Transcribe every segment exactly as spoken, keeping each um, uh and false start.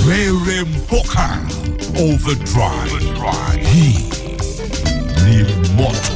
Rere Mpoka Overdrive. Hii ni moto.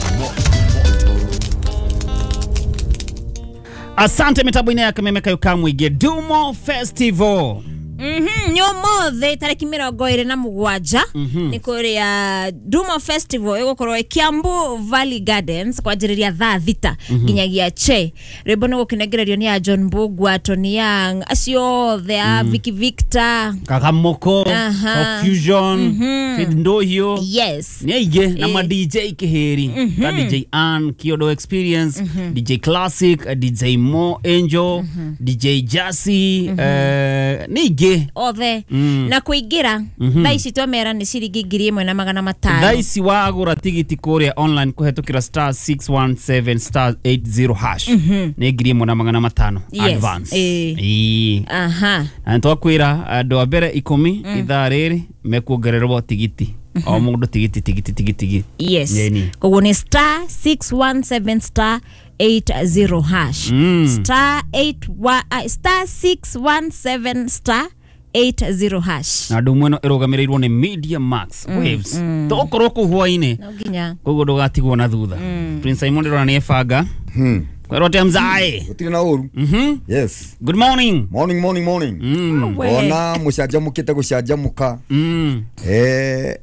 Asante mitambo ine yakamemeka yukamwige Dumo Festival. Mhm, nyomothe tariki mirongo iri na mugwanja ni kuria Dumo Festival igukorwo Kiambu Valley Gardens kwanjiriria thaa thita nginyagia che. Rwimbo ni gukinengererio ni a John Mbugua, Tony Young, acio othe a Vicky Victor, Kagamoko, Aha. Fusion, Fid Ndohio. Yes. Ni aingĩ na ma D J Kihiri, mm-hmm. D J Ann, Kiodo Experience, mm-hmm. D J Classic, D J Mo Angel, mm-hmm. D J Jassy, mm-hmm. eh, ni aingĩ othe mm. na kuingira mm-hmm. thaa ici twamera ni ciringi ngiri ĩmwe na magana matano. Thaa ici wagũra tigiti kũrĩa online kũhetũkĩra star six one seven star eight zero hash mm-hmm. ni ngiri ĩmwe na magana matano. Yes. Advance. Ĩĩ. Aha. Na nĩtwakwĩra andũ a mbere ikũmi mm. ithaa rĩrĩ mekuongererwo tigiti o mundu tigiti tigiti tigiti. Yes. Yeni. Koguo ni star six one seven star eight zero hash. Mm. Star eight one, uh, star six one seven star eight zero hash. Na ndu mweno irugamiriirwo ni Media Max mm, Waves. Mm. Tokorwo kuu hwaini. No nginya. Koguo ndugatigwo na thutha. Mm. Prince Simon ndĩrona ni ebanga. Hmm. Kwĩrwo atĩa mzae? Gũtirĩ na ũru. Mhm. Yes. Good morning. Morning, morning, morning. Mm. Ona mũcanjamũkĩte gũcanjamũka. Mm. Eh,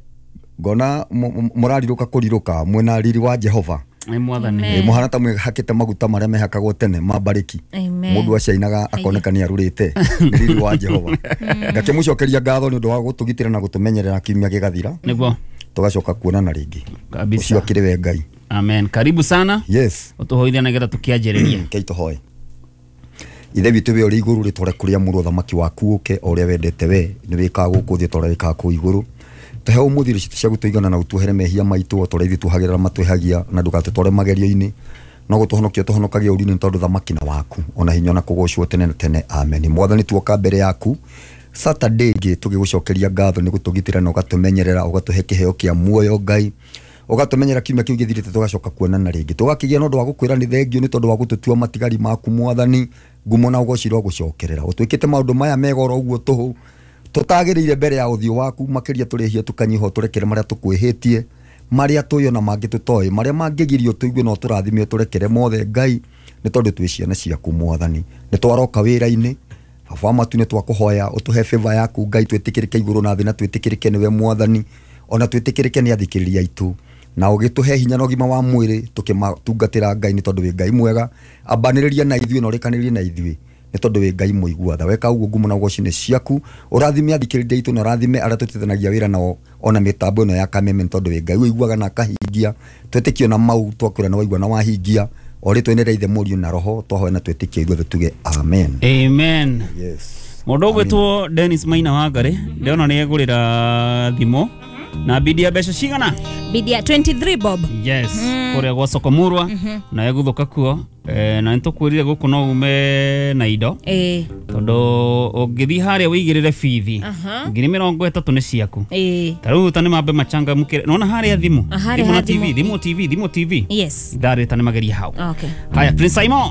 ngona mũrarirũka kũrirũka mwena riri wa Jehova. Nĩ mwathani. Eh, mũhana ta mwĩhakĩte maguta marĩa mehakagwo tene ma bariki. Mũndũ acainaga akoneka nĩ arũrĩte nĩ riri wa Jehova. Ngakĩmũcokeria ngatho nĩ ũndũ wa gũtũgitĩra na gũtũmenyerera kiumia gĩgathira. Nĩguo. Tũgacoka kuonana rĩngĩ. Kabisa. Ũcio akĩrĩ we Ngai. Amen. Karibu sana. Yes. Ũtũhoithia nĩgetha tũkĩanjĩrĩria. Kei tũhoe. Ithe witũ we ũrĩ igũrũ rĩtwa rĩaku rĩamũrwo, thamaki waku ũke o ũrĩa wendete we nĩ wĩkaga gũkũ thĩ ta ũrĩa wĩkaga kũu igũrũ. Tũhe ũmũthĩ irio citũ cia gũtũigana na ũtuohere mehia maitũ o ta ũrĩa ithuĩ tuohagĩra arĩa matwĩhagia, na ndũgatũtware magerio-inĩ no gũtũhonokia tũhonokagia ũru-inĩ, tondũ thamaki na waku ona hinya na kũgocwo tene na tene. Amen. Mwathani, tuoka mbere yaku Saturday ĩngĩ tũgĩgũcokeria ngatho nĩ gũtũgitĩra na ũgatũmenyerera, ũgatũhe kĩheo kĩa muoyo Ngai, ũgatũmenyera kiumia kĩu gĩthirĩte tũgacoka kuonana rĩngĩ. Tũgakĩgĩa na ũndũ wa gũkwĩra nĩ thengio nĩ tondũ wa gũtũtua matigari maku Mwathani, ngumo na ũgoci rwa gũcokerera. Ũtwĩkĩte maũndũ maya mega oro ũguo tũhũ tũtagĩrĩire mbere ya ũthiũ waku, makĩria tũrĩhie tũkanyiha tũrekere marĩa tũkwĩhĩtie, marĩa tũĩ ona mangĩ tũtoĩ, marĩa mangĩgirio tũigue no tũrathime tũrekere mothe Ngai, nĩ tondũ twĩ ciana ciaku Mwathani. Nĩ twaroka wĩra-inĩ Baba wa matu, nĩ twakũhoya ũtũhe favor yaku Ngai, twĩtĩkĩrĩke igũrũ na thĩ na twĩtĩkĩrĩke nĩwe Mwathani, ona twĩtĩkĩrĩke nĩ athikĩrĩria aitũ, na ũgĩtũhe hinya na ũgima wa mwĩrĩ tũkĩmatungatĩra Ngai, nĩ tondũ wĩ Ngai mwega. Ambanĩrĩria na ithuĩ na ũrĩkanĩrie na ithuĩ nĩ tondũ wĩ Ngai mũigua tha. Weka ũguo ngumo na ũgoci nĩ ciaku. Ũrathime athikĩrĩria aitũ na ũrathime arĩa tũtithanagia wĩra nao ona mĩtambo ĩno ya Kameme, nĩ tondũ wĩ Ngai ũiguaga na akahingia. Twĩtĩkio na mau twakwĩra na waigua na wahingia. O rĩtwa inĩ rĩa Ithe, Mũriũ na Roho twahoya na twĩtĩkie ithuothe tuge amen. Amen. Yes. Mũndũ ũgwĩtwo Dennis Maina Wangari ndĩrona nĩ egũrĩra thimũ na bidi ya mbeca cigana? Bidi ya twenty-three bob. Yes. Kũrĩa gwa soko Murwa na egũthũka kuo. Eh, na nĩtũkwĩrire gũkũ no ume na indo eh tondũ ũngĩthiĩ harĩa wĩigĩrĩre bithi ngiri mĩrongo ĩtatũ nĩ ciaku. Eh ta rĩu ta nĩ mambe machangamũkĩre nona harĩa thimũ thimũ na T V thimũ T V thimũ T V. Yes. Ithaa rĩrĩ ta nĩ mageria hau. Okay. Haya Prince Simon.